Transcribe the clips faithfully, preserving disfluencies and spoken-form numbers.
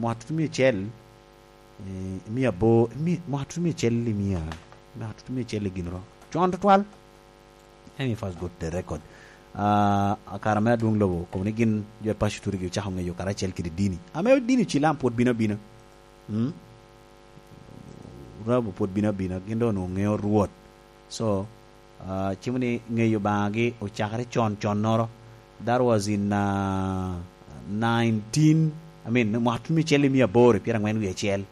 mwaka tutumia acel, eh, mia aboro, mi-, mwaka tutumia acel i mia, mwaka tutumia acel i gin ro. Con tutwal. Let me first go to the record. Ah, kare ame adwoŋ lobo, kobo ni gin jo i paco turigi ocako ŋeyo karacel kede dini. Ame dini Cilam pwod bino abina. Mm? Rabo pwod bino abina, gin doŋ onwoŋo ŋeo Rwot. So, ah, cimo ni ŋeyo Obaŋagi ocakere con, connoro. That was in, ah, nineteen, I mean, mwaka tutumia acel i mia aboro i pyerangwen wie acel.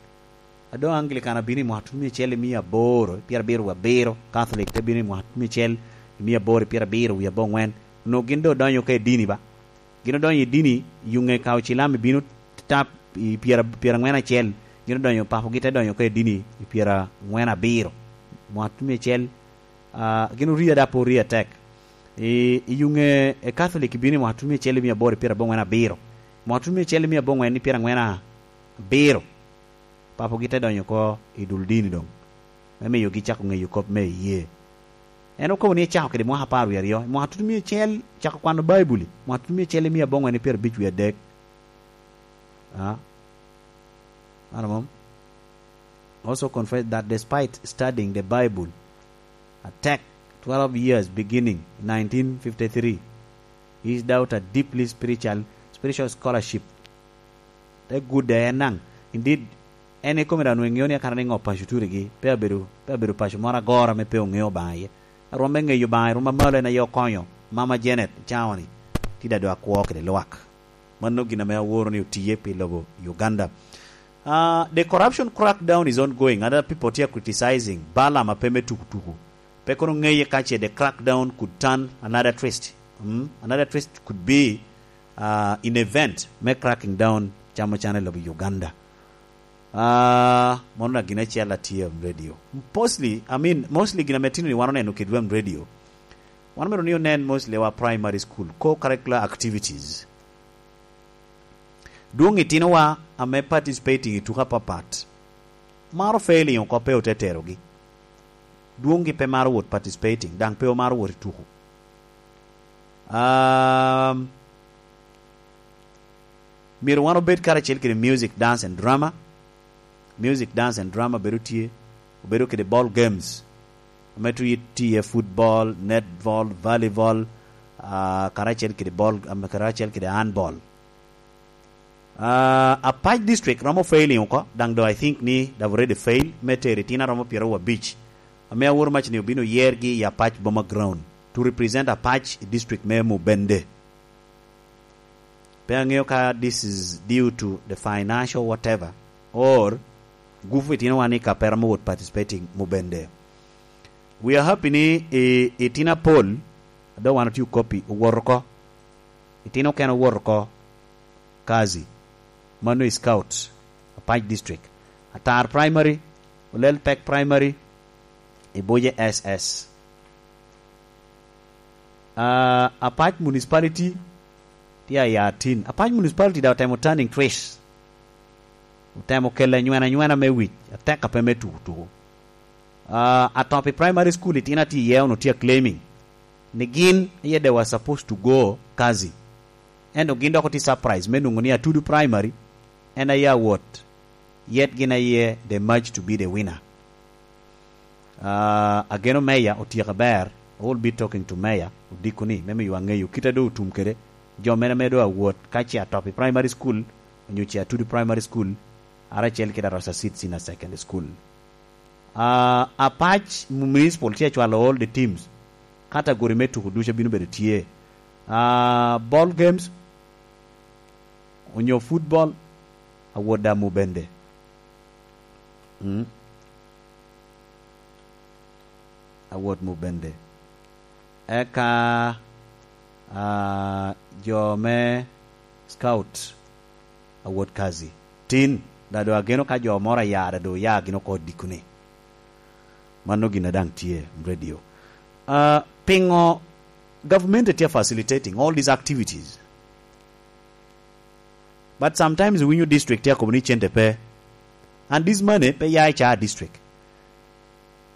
A doŋ Anglican abino i mwaka tutumia acel i mia aboro i pyerabiro wie abiro, Catholic te bino i mwaka tutumia acel i mia aboro i pyerabiro wie aboŋwen. Onwoŋo gin doŋ odonyo oko i dini ba. Gin odonyo i dini, i yuŋe ka Ocilam bino tap i pyera-, pyeraŋwen acel, gin odonyo, papogi te donyo oko i dini i pyeraŋwen abiro. Mwaka tutumia acel, ah, gin oria da pe oria atek. I, i yuŋe, e Catholic bino i mwaka tutumia acel i mia aboro i pyeraboŋwen abiro. Mwaka tutumia acel i mia aboŋwen i pyeraŋwen abiro. Papogi te donyo oko i dul dini doŋ, me miyogi cako ŋeyo kop me iyee. En okobo ni ecako kede mwaka apar wie aryo, i mwaka tutumia acel cako kwano Baibuli, mwaka tutumia acel i mia aboŋwen i pyerabic wie adek. Ah. Ano mom? Also confess that despite studying the Bible atek twelve years beginning nineteen fifty-three, his daughter deeply spiritual, spiritual scholarship te gudde en naŋ. Indeed, en ikome daŋ onwoŋo eŋeo ni akana ni ŋo paco turigi, pe abedo, pe abedo paco moro agoro ame pe oŋeo Obaŋa iye. Arwom me ŋeyo Obaŋa i rwom amalo en aye okonyo Mama Janet cawa-ni. Tye daŋ doŋ akwo kede lwak. Mano gin ame aworo ni otiye pi lobo Uganda. Ah, the corruption crackdown is ongoing. Other people tye criticizing Balaam ape me tuku tuku. Pe kono ŋeye ka ce the crackdown could turn another twist. Mm? Another twist could be, ah, in event me cracking down camo cana i lobo Uganda. Ah, mano na gin acel atye on radio. Mostly, I mean, mostly gin ame tino ni wan oneno kede wem radio. Wan omito ni onen mostly wa primary school, co-curricular activities. Dwoŋ itinowa ame participating i tuko apapat, maro failing oko pe ote terogi. Dwoŋgi pe maro wot participating, daŋ pe omaro wot i tuko. Um, myero wan obed karacel kede music, dance and drama. Music, dance and drama bedo tye, obedo kede ball games. Ame tye, tye football, netball, volleyball, ah, karacel kede ball, am, karacel kede handball. Ah, Apac district romo failing oko, daŋ do I think ni they've already fail, me tero itino aromo pyeraryo abic, ame aworo mac ni obino yergi i Apac Boma Ground to represent Apac i district me Mubende. Pe aŋeo ka this is due to the financial whatever, or gupu itinowa ni ka pe romo wot participating Mubende. We are happy ni i, itino apol, a doŋ wan otye okopi, owot oko. Itino okene owot oko Kazi. Mano i Scout, Apac District. Atar Primary, Olel Pek Primary, Ibuje S S. Ah, Apac Municipality tye aya tin. Apac Municipality daŋ otemo turning twist. Otemo kelo anywena anywena me wic, atek ape me tuku tuku. Ah, Atopi Primary School itino atye iye, onwoŋo tye a claiming ni gin aye they were supposed to go Kazi. Ento gin dok otye surprise me nwoŋo ni Atudu Primary en aye awot, yet gin aye they merge to be the winner. Ah, ageno Meya otyeko aber. I will be talking to Meya odiko ni, me miyo aŋeyo kit a doŋ otum kede jo mene me doŋ awot, ka ce Atopi Primary School onyo ce Atudu Primary School, ara acel kede Arosa Seed Senior Secondary School. Ah, Apac Municipal tye acwalo all the teams. Category me tuko ducu bino bedo tye. Ah, ball games, onyo football, awot daŋ Mubende. Mm. Awot Mubende. Eka, ah, jo me Scout, awot Kazi. Tin, daŋ doŋ ageno ka jo moro aya, daŋ doŋ oya gin oko odiko ni. Mano gin a daŋ tye radio. Ah, piŋo government tye facilitating all these activities? But sometimes iwinyo district tye akobo ni cente pe. And this money pe ya i ca district.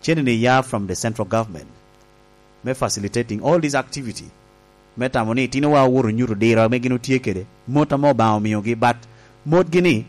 Cente ni ya from the central government. Me facilitating all this activity. Me tamo ni itinowa owoto nyuto diro ame gin otye kede. Mot ame Obaŋa omiogi, but motgi ni